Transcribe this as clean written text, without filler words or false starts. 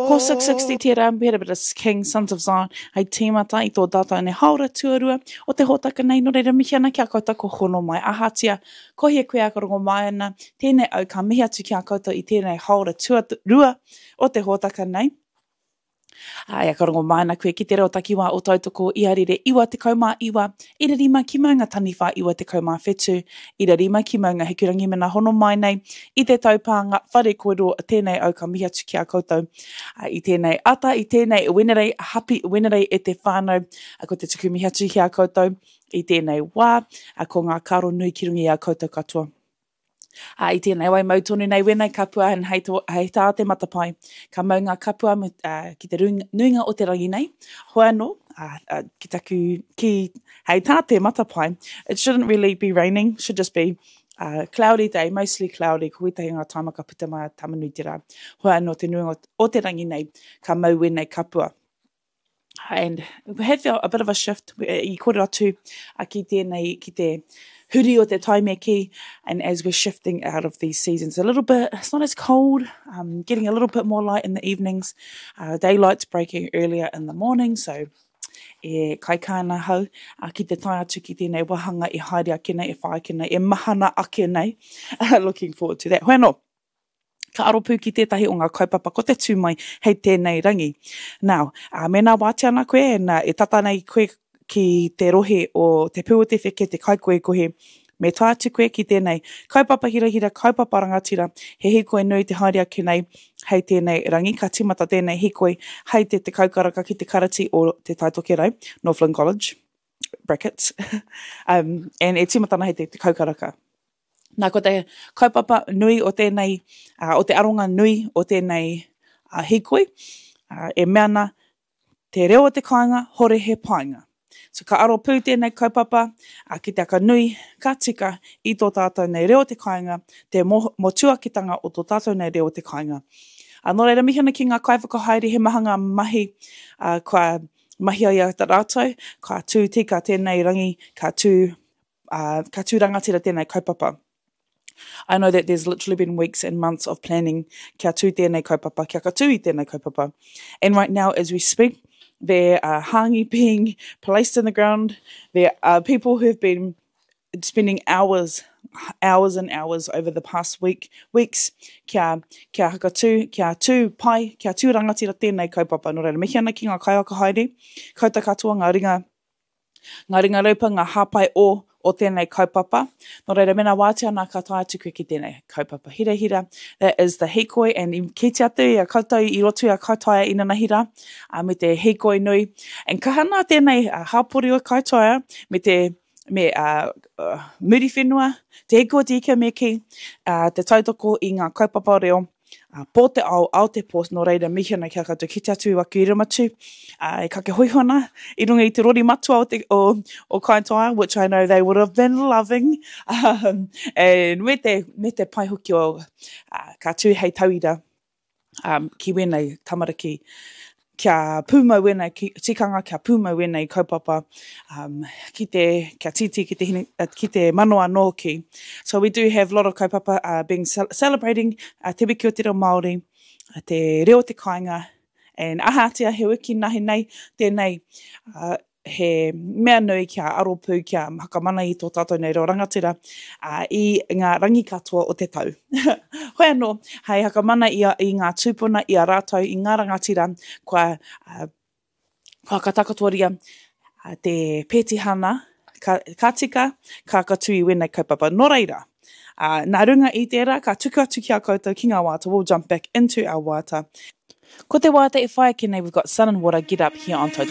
Ko 660 tērā, we had a bit of King, Sons of Zion, hei tīmata i tō tātou nei hāora tuarua o te hōtaka nei, nō reira mihi ana ki a koutou ko hono mai ahatia, ko hea koe a ka rongo mai ana, tēnei au ka mihi atu ki a koutou i tēnei hāora tuarua o te hōtaka nei. Ā, ka rongo mai ana koe ki te reo takiwā o Tautoko i a Rere 99, ira rima ki Maunga Taniwha 97, ira rima ki Maunga Hikurangi mena hono mai nei i te taupānga whare kōrero tēnei au ka mihi atu ki a koutou i tēnei ata, i tēnei Wenerei, happy Wenerei e te whānau, ko te tuku mihi atu ki a koutou i tēnei wā, ko ngā karo nui ki runga i a koutou katoa. Ā, i tēnei wai mau tonu nei wēnei kapua and hei, to, hei tā te matapae, ka mau ngā kapua me, uh, ki te runga, nuinga o te rangi nei. Hoi anō, uh, uh, ki taku, ki, hei tā te matapae, it shouldn't really be raining, should just be uh, cloudy day, mostly cloudy, ko wētahi ngā taima ka puta mai a Tamanui te rā. Hoi anō te nuinga o te rangi nei, ka mau wēnei kapua. And we had felt a bit of a shift i kōrero atu ki tēnei, ki te huri o te tai me kī, and as we're shifting out of these seasons a little bit, it's not as cold, um, getting a little bit more light in the evenings, uh, daylight's breaking earlier in the morning, so e kaikā ana hau uh, ki te tae atu ki tēnei wāhanga e haere ake nei, e whai ake nei, e mahana ake nei. Looking forward to that. Hoi anō, Ka aro pū ki tētahi o ngā kaupapa ko te tū mai hei tēnei rangi. Now, ā, mēnā wātea ana koe, and, e tata nei koe ki te rohe o Te Pū o te Wheke, te Kaikohekohe, me tae atu koe ki tēnei kaupapa hirahira, kaupapa rangatira, he hīkoi nui te haere ake nei hei tēnei rangi. Ka tīmata tēnei hīkoi hei te 10 karaka ki te karati o Te Tai Tokerau, Northland College, brackets, um, and e tīmata ana hei te 10 karaka. Nā, ko te kaupapa nui o tēnei, uh, o te aronga nui o tēnei uh, hīkoi, uh, e mea ana, te reo o te kāinga, hore he painga. So ka aro pū tēnei kaupapa uh, ki te aka nui, ka tika i tō tātou nei reo o te kāinga, te mo, motuakitanga o tō tātou nei reo o te kāinga. Uh, nō reira, mihi ana ki ngā kaiwhakahaere, he maha ngā mahi uh, kua mahia i a rātou, ka tū tika tēnei rangi, ka tū uh, ka tū rangatira tēnei kaupapa. I know that there's literally been weeks and months of planning kia tū tēnei kaupapa, kia ka tū i tēnei kaupapa. And right now, as we speak, there are hāngi being placed in the ground. There are people who have been spending hours, hours and hours over the past week, weeks, kia, kia hakatū, kia tū pai, kia tū rangatira tēnei kaupapa. Nō reira, mihi ana ki ngā kaiwhakahaere, koutou katoa ngā ringa Ngā ringa raupa, ngā hāpai o o tēnei kaupapa. Nō reira, mēnā wātea ana ka tae atu koe ki tēnei kaupapa hirahira. That is the hīkoi and i kite atu i a koutou i roto i a Kaitaia inanahira uh, me te hīkoi nui. And kaha nā tēnei uh, hāpori o Kaitaia me te me uh, uh, Muriwhenua, te hiko o te ika me kī, uh, te tautoko i ngā kaupapa reo Ā, pō te ao, ao te pō, nō reira mihi ana ki a koutou, kite atu i waku iramatu, ā, e kake hoiho ana i runga i te rori matua o te, o, o Kaitaia, which I know they would have been loving, um, and me te, me te pai hoki o, ā, ka tū hei tauira, um, ki wēnei tamariki, kia pūmau wēnei tikanga, kia pūmau wēnei kaupapa, um, ki te, kia tītī ki te, hine, uh, ki te mano anō hoki. So we do have a lot of kaupapa uh, being celebrating uh, Te Wiki o Te Reo Māori, uh, te reo o te kāinga, and ahatia he wiki nahi nei, tēnei uh, he mea nui kia aro pū, kia whakamana i tō tātou nei reo rangatira ā, i ngā rangi katoa o te tau. Hoi anō, hei whakamana i, a, i ngā tūpuna, i a rātou, i ngā rangatira kua, ā, kua whakatakotoria te pētihana ka, ka tika, ka katū i wēnei kaupapa. Nō reira, ā, nā runga i tērā, ka tuku atu ki a koutou ki ngā waiata, we'll jump back into our waiata. Ko te waiata e whai ake nei, we've got Sun and Water, Get Up here on Tautoko.